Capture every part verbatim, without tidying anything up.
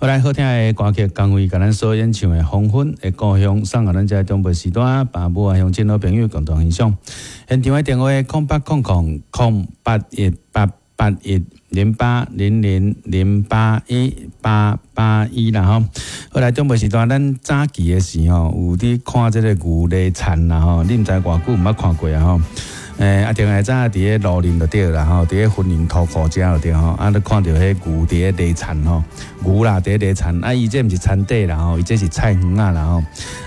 好來，好聽的歌曲，江蕙共咱所演唱的《黃昏的故鄉》，送予咱遮長輩時段，爸母啊鄉親老朋友共同欣賞。現場的電話：空八空空空八一八八一零八零零零八一八八一啦吼。好來，長輩時段，咱早期的時吼，有佇看這個牛犁田啦吼，你毋知偌久毋捌看過啊吼。欸，啊，定會早佇咧蘆林就對啦吼，佇咧雲林塗庫遮就對吼，啊，你看著彼牛佇咧犁田吼，牛啦佇咧犁田，啊，伊這毋是田塊啦吼，伊這是菜園仔啦吼，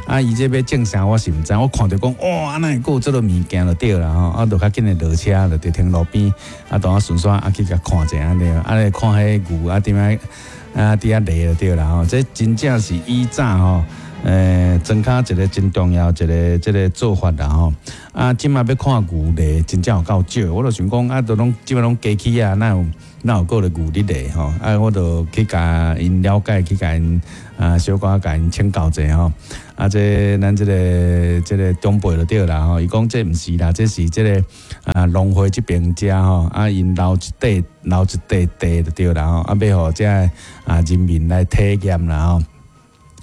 啊，伊這欲種啥我是毋知，我看著講哇，哪會閣有這個物件就對啦吼，啊，就較緊的落車就佇停路邊，啊，當啊順紲啊去共看者按呢，啊，咧看彼牛啊點樣啊佇遐犁就對啦吼，這真正是以早吼。欸，莊跤一個真重要一個這個做法啦吼。啊，這馬欲看牛犁，真正有夠少。我就想講啊，都攏這馬攏機器啊，哪有哪有閣咧牛佇犁吼？啊，我就去共𪜶了解，去共𪜶啊小可共𪜶請教者吼。啊，這咱這個這個長輩就對啦吼。伊講這毋是啦，這是這個啊農會這邊遮吼，啊𪜶留一塊留一塊地就對啦吼，啊欲予遮啊人民來體驗啦吼。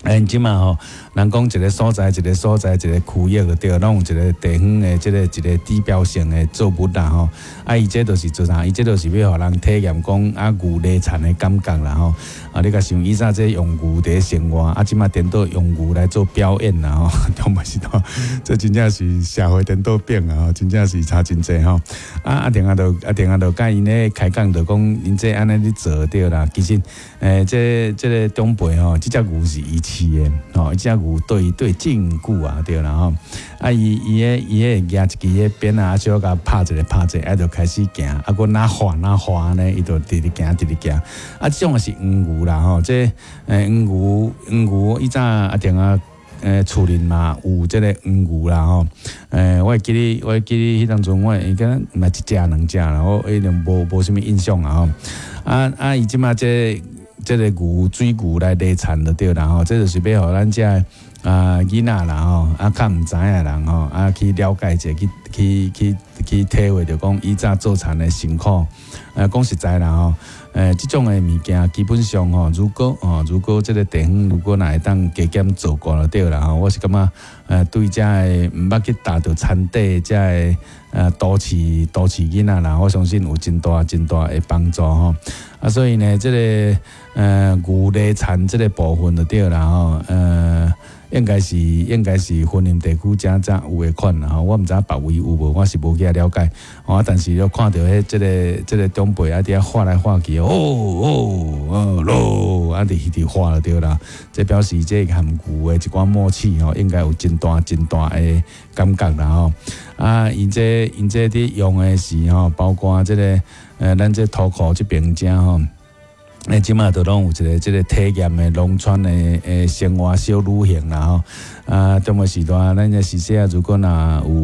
欸，這馬吼，人講一個所在，一個所在，一個區域就對，攏有一個地方的這個一個指標性的作物啦吼。啊，伊這就是做啥？伊這就是欲予人體驗講啊牛犁田的感覺啦吼。啊，你共想以前這用牛佇生活，啊，這馬顛倒用牛來做表演啦吼。中嘛是吼，這真正是社會顛倒變啊，真正是差真濟吼。啊，啊，另外就啊，另外就共𪜶咧開講，就講𪜶這按呢咧做對啦。其實，欸，這這個長輩吼，這隻牛是伊飼的吼，這隻牛對對真久啊，對啦吼。啊，伊伊彼伊彼舉一支彼鞭仔，小可共拍一下拍一下，啊，就開始行，啊，閣若緩若緩呢，伊就直直行直直行。啊，這種是黃牛啦吼，這欸黃牛黃牛以早啊定啊。欸，厝裡嘛有這個黃牛啦吼，欸，我會記得，我會記得彼當陣，我應該毋是一隻兩隻啦，我一定無無啥物印象啊吼。啊啊，伊這馬這這個牛水牛來犁田就對啦吼，這就是欲予咱遮啊囡仔啦吼，啊較毋知影的人吼，啊去了解者，去去去去體會著講以早做田的辛苦。呃，講實在啦吼，欸，這種的物件基本上吼，如果吼，如果這個地方如果若會當加減做過就對啦吼，我是感覺，呃，對遮的毋捌去踏著田塊遮的呃都市都市囡仔啦，我相信有真大真大的幫助吼。啊，所以呢，這個呃牛犁田這個部分就對啦吼，呃。應該是應該是雲林地區遮才有的款啦吼，我毋知別位有無，我是無去了解。哦，但是你看著彼這個這個長輩啊，佇遐畫來畫去，哦哦哦囉，啊，佇佇畫就對啦。這表示這和牛的一寡默契吼，應該有真大真大的感覺啦吼。啊，𪜶這𪜶這佇用的是吼，包括這個呃，咱這塗庫這邊遮吼。欸，這馬都攏有一個這個體驗的農村的的生活小旅行啦吼。啊，中午時段，咱這時勢啊，如果若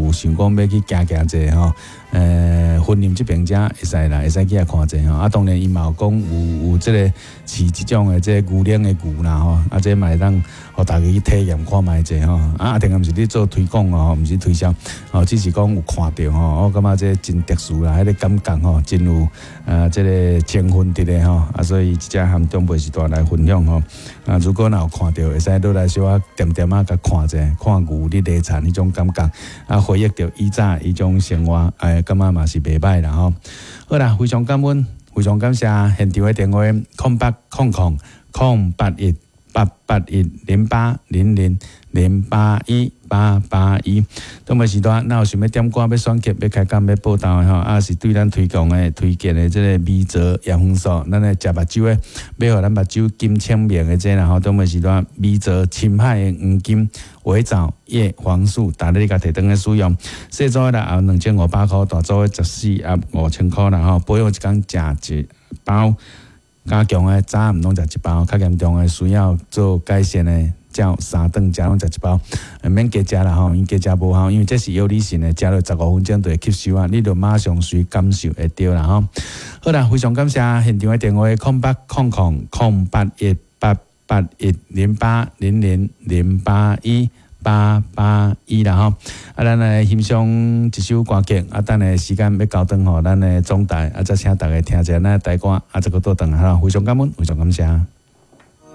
有想講欲去行行者吼，呃，雲林這邊遮會使啦，會使去遐看者吼。啊，當然伊嘛有講有有這個飼這種的這個牛奶的牛啦吼，啊，這嘛會當予大家去體驗看覓者吼。啊，啊，定毋是咧做推廣哦，毋是推銷，哦，只是講有看著吼，我感覺這真特殊啦，彼個感覺吼，真有啊，這個情分佇咧吼，啊，所以這和長輩時代來分享吼。啊，如果若有看著，會使落來小可恬恬仔共看者，看牛佇犁田彼種感覺，啊，回憶著以早彼種生活，哎，感覺嘛是袂䆀啦吼。好啦，非常感恩，非常感謝現場的電話：空八空空空八一八八一零八零零零八一八八一。中晡時段，若有想欲點歌、欲選曲、欲開講、欲報道的吼，啊是對咱推廣的、推薦的這個米澤葉黃素，咱來食目睭的，欲予咱目睭金清明的這啦吼。中晡時段，米澤深海的黃金微藻葉黃素，逐日你共提轉去使用。細組的啦，兩千五百箍，大組的十四盒五千箍啦吼。保養一工食一包，加強的早暗攏食一包，較嚴重的需要做改善的，照三頓食攏食一包，免加食啦吼，因加食無效，因為這是藥理性的，食落十五分鐘就會吸收啊，你就馬上隨感受會著啦吼。好啦，非常感謝現場的電話：空八空空空八一八八一零八零零零八一八八一啦吼。啊，咱來欣賞一首歌曲，啊，等下時間欲交轉予咱的總台，啊，再請大家聽一下咱的台歌，啊，再閣倒轉來吼。非常感恩，非常感謝。